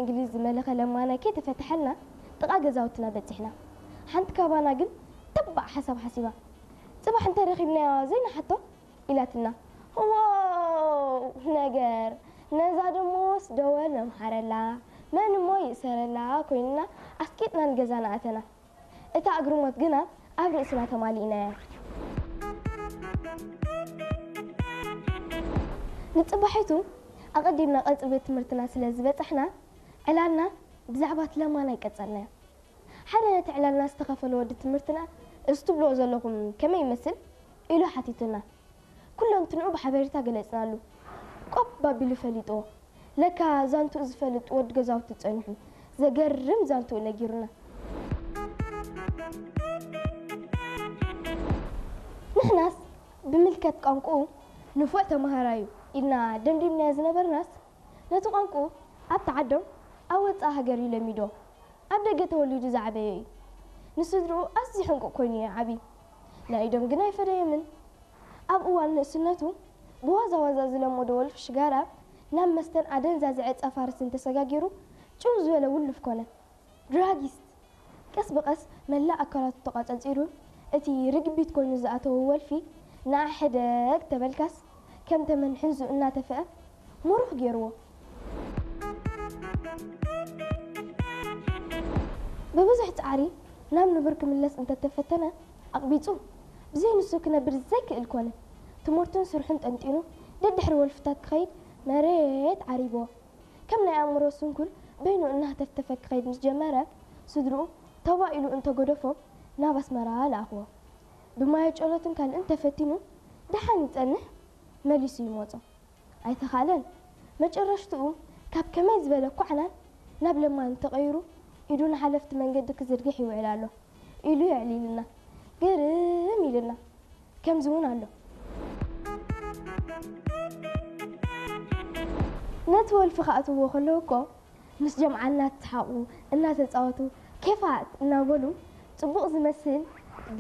እንግሊዝ ዝመለኸ ለማናይ ከይተፈትሐልና ጥቓ ገዛውትና በጺሕና። ሓንቲ ካባና ግን ተባዕ ሓሳብ ሓሲባ፣ "ጽባሕ እንተረኺብናዮ ዘይንሓቶ?" ኢላትና። ዋው ነገር! ነዛ ደሞስ ደወል ነምሓረላ፣ መን እሞ ይእሰረላ ኮይንና ኣስቂጥና ንገዛና ኣተና። እታ እግርሞት ግና ኣብ ርእስና ተማሊእናያ። ንጽባሒቱ ኣቐዲምና ቀጽሪ ቤት ትምህርትና ስለ ዝበጻሕና፣ ዕላልና ብዛዕባ እቲ ለማናይ ቀጸልናዮ። ሓደ ነቲ ዕላልና ዝተኸፈለ ወዲ ትምህርትና፣ "እዚ ትብልዎ ዘለኹም ከመይ ይመስል?" ኢሉ ሓቲቱና። ኩለንትንኡ ብሓበሬታ ገለጽናሉ። ቆብ ኣቢሉ ፈሊጥዎ። ለካ ዛንትኡ ዝፈልጥ ወዲ ገዛውቲ ጸኒሑ፣ ዘገርም ዛንትኡ ነጊሩና። ንሕናስ ብምልከት ቋንቋኡ ንፉዕ ተማሃራዩ ኢልና ደምዲምናዮ ዝነበርናስ፣ ነቲ ቋንቋኡ ኣብቲ ዓዶም ኣብ ወጻኢ ሃገር እዩ ለሚዶ። ኣብ ደገ ተወሊዱ ዝዓበየ እዩ። ንስድርኡ ኣዝዩ ሕንቁቕ ኮይኑ እዩ ዓብዩ። ናይ ኢዶም ግን ኣይፈደየምን። ኣብ እዋን ንእስነቱ ብዋዛ ዋዛ ዝለመዶ ወልፊ ሽጋራ ናብ መስተን ኣደንዛዚ ዕጸ ፋርስን ተሰጋጊሩ ጭው ዝበለ ውሉፍ ኮነ። ድራጊስት! ቀስ ብቐስ መላእ ኣካላቱ ተቋጸጺሩ፣ እቲ ርግቢት ኮይኑ ዝኣተወ ወልፊ ንዓ ሕደግ ተበልካስ ከም ተመን ሕንዙ እናተፍአ ምሩኽ ገይርዎ። ብብዙሕ ጻዕሪ ናብ ንቡር ክምለስ እንተተፈተነ ኣቕቢጹ፣ ብዘይ ንሱ ክነብር ዘይክእል ኮነ። ትምህርቱን ስርሑን ጠንጢኑ ደድሕሪ ወልፍታት ክኸይድ መሬት ዓሪብዎ። ከም ናይ ኣእምሮ ስንኩል በይኑ እናህተፍተፈ ክኸይድ ምስ ጀመረ፣ ስድርኡ ተባ ኢሉ እንተገደፎ ናብ ኣስመራ ለኣኽዎ። ብማየ ጨሎትን ካልእን ተፈቲኑ ደሓን ይጸንሕ መሊሱ ይመጾ። ኣይተኻእለን። መጨረሽትኡ ካብ ከመይ ዝበለ ኳዕናን ናብ ለማኒ ተቐይሩ ኢዱ ንሓለፍቲ መንገዲ ክዝርግሕ ይውዕል ኣሎ ኢሉ የዕሊልና። ግርም ኢልና። ከምዚ እውን ኣሎ። ነቲ ወልፊ ክኣትውዎ ከለዉ እኮ ምስ ጀምዓ እናተሰሓቑ እናተጻወቱ ኬፋት እናበሉ ጽቡቕ ዝመስል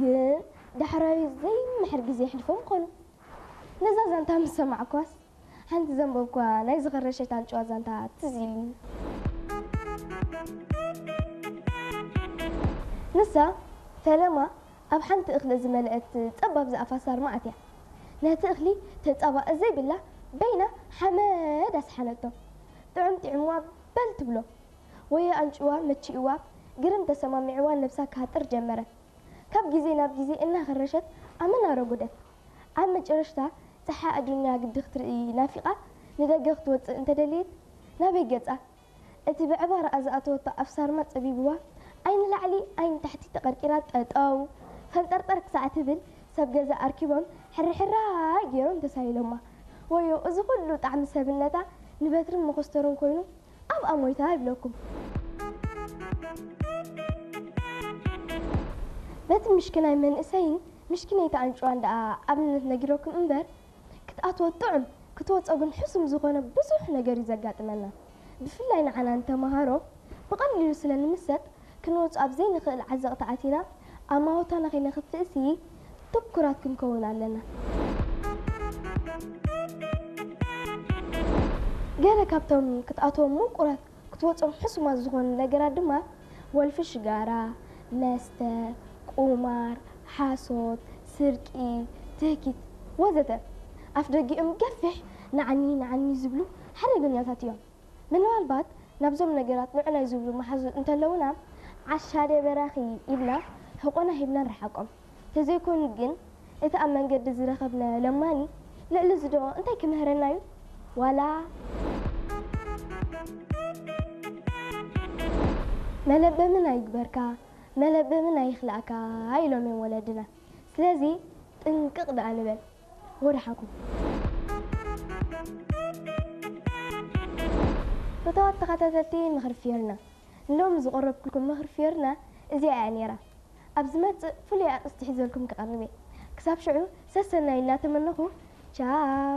ግን ዳሕራዊ ዘይምሕር ግዜ የሕልፎም ምኾኑ። ነዛ ዛንታ ምስ ሰማዕኳስ ሓንቲ ዘንበብኳ ናይ ዝኸረሸት ኣንጭዋ ዛንታ ትዝ ኢልኒ። ንሳ ፈለማ ኣብ ሓንቲ እኽሊ ዝመልአት ጸባብ ዝኣፋ ሳርማ ኣትያ። ነቲ እኽሊ ተጻባእ ዘይብላ በይና ሓመድ ኣስሓነቶ። ጥዑም ጥዕምዋ በል ትብሎ። ወዮ ኣንጭዋ መቺእዋ ግርም ተሰማሚዕዋ ነብሳ ክሃጥር ጀመረ። ካብ ግዜ ናብ ግዜ እናኸረሸት ኣመና ረጎደት። ኣብ መጨረሽታ ጸሓይ ኣዱንያ ግዲ ክትርኢ ናፊቓ ንደገ ክትወጽእ እንተደልየት ናበይ ገጻ? እቲ ብዕባራኣ ዝኣተወቶ ኣፍ ሳርማ ጸቢብዋ፣ ዓይኒ ላዕሊ ዓይኒ ታሕቲ ተቐርቂራ ጠጠው ፈንጠርጠር ክሳዕ ትብል ሰብ ገዛ ኣርኪቦም ሕርሕራይ ገይሮም ተሳኢሎማ። ወዮ እዚ ኩሉ ጣዕሚ ሰብነታ ንበትርን መኾስተርን ኮይኑ ኣብኣ ሞይታ ይብለኩም። በቲ ምሽክናይ መንእሰይን ምሽክነይቲ ኣንጭዋን ደኣ ኣብነት ነጊረኩም እምበር፣ ክትኣትዎ ጥዑም ክትወጾ ግን ሕሱም ዝኾነ ብዙሕ ነገር እዩ ዘጋጥመና። ብፍላይ ንዓና ንተምሃሮ ብቐሊሉ ስለ ንምሰጥ ክንወጾ ኣብ ዘይንኽእል ዓዘቕቲ ኣቲና ኣማውታና ከይነኽፍእሲ ትኩራት ክንከውን ኣለና። ገለ ካብቶም ክትኣትዎም ምቁራት ክትወጾም ሕሱማት ዝኾኑ ነገራት ድማ ወልፊ ሽጋራ፣ መስተ፣ ቁማር፣ ሓሶት፣ ስርቂ፣ ትህኪት ወዘተ ኣፍ ደጊኦም ገፊሕ ንዓኒ ንዓኒ ዝብሉ ሓደገኛታት እዮም። ምናልባት ናብዞም ነገራት ንዑናይ ዝብሉ መሓዙት እንተለውና ዓሻ ድየ በራኺ ኢልና ሕቆና ሂብና ንርሓቆም። ተዘይኮይኑ ግን እቲ ኣብ መንገዲ ዝረኸብናዮ ለማኒ ልዕሊ ዝዶ እንታይ ክምህረና እዩ? ዋላ መለበምን ኣይግበርካ መለበምን ኣይኽላእካ ኢሎም እዮም ወለድና። ስለዚ ጥንቅቕ ደኣ ንበል። ወደሓንኩም። ፍትዋት ተኸታተልቲ ምኽሪ ፊዮርና፣ ንሎሚ ዝቐረብኩልኩም ምኽሪ ፊዮርና እዚኣ እያ ነይራ። ኣብ ዝመጽእ ፍሉይ ኣርእስቲ ሒዘልኩም ክቐርብ እየ። ክሳብ ሽዑ ሰሰናዩ እናተመነኹ ቻው።